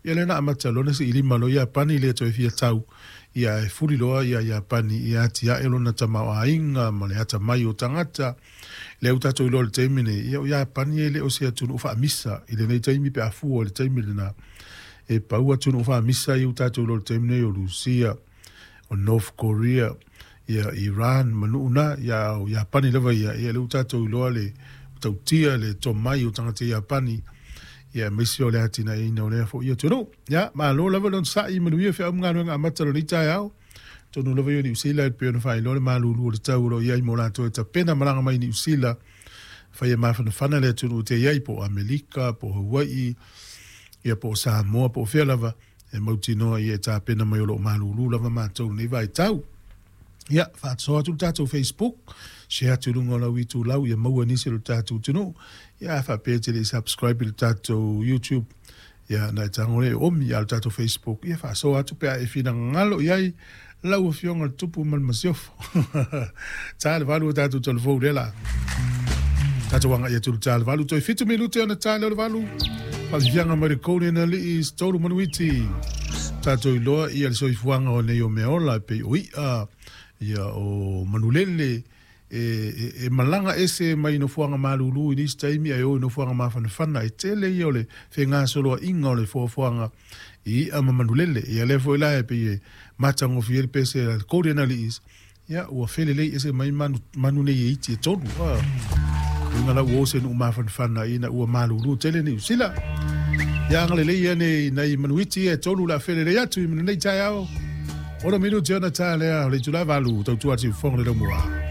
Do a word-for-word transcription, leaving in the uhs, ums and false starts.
Ia lea na amata loa ona siilima loa Iapani le toe fia tau, ia e fuli loa ia Iapani ia atiae lona tamaoaiga ma le atamai o tagata. Lea ua tatou iloa i le taimi nei, ia o Iapani e le o se atunuu faamisa i lenei taimi pe a fua i le taimi lena. E pau atunuu faamisa ia ua tatou iloa i le taimi nei o Lusia, o North Korea, ia Iran ma nuu na, ia o Iapani lava ia, ia lea ua tatou iloa le tautia le tomai o tagata Iapani, ia aemaise o le atinaeina o lea foi atunuu. Ia, malo lava le onosai, manuia feau ma galuega amata o lenei taeao. Tonu lava ia o Niu Sila e pei ona faailoa le malulu o le tau o lo o i ai mo latou e tapena malaga mai Niu Sila, fai e mafanafana le atunuu te i ai, po o Amerika, po o Hawaii, ia po o Samoa, po o fea lava, e mautinoa ia e tapena mai o lo o malulu lava matou nei vaitau. Ia, faasoa atu le tatou Facebook, share atu i luga o lau itulau ia maua nisi o le tatou atunuu. Ia, a faapea e te le i subscribe i le tatou YouTube, ia na e tago lea e omi a le tatou Facebook, ia faasoa atu pe a e finagalo i ai lau afioga le Tupu ma le Masiofo. Ta le valu o tatou telefou lea la. Tatou agai atu le ta le valu, toe fitu minute ona ta lea o le valu. Faafiafiaga mai le Golden Alii tolu manuiti. Tatou iloa ia le soifuaga o nei o meaola e pei o i'a, ia o manulele, e, e, e malaga ese mai nofoaga malulu i nisi taimi ae o i nofoaga mafanafana. E tele ia o le fegasoloaiga o le foafoaga i i'a ma manulele. Ia lea foi la e pei e matagofie le pese a le Golden Alii, ia ua felelei ese mai manu, manu nei e iti e tolu. Ah. Uiga la ua o se nuu mafanafana ina ua malulu tele Niu Sila. Ia agalelei ia nei nai manuiti e tolu la felelei atu i lenei taeao. Ono minuti ona ta lea o le itula valu tautua atu i fofoga le laumua.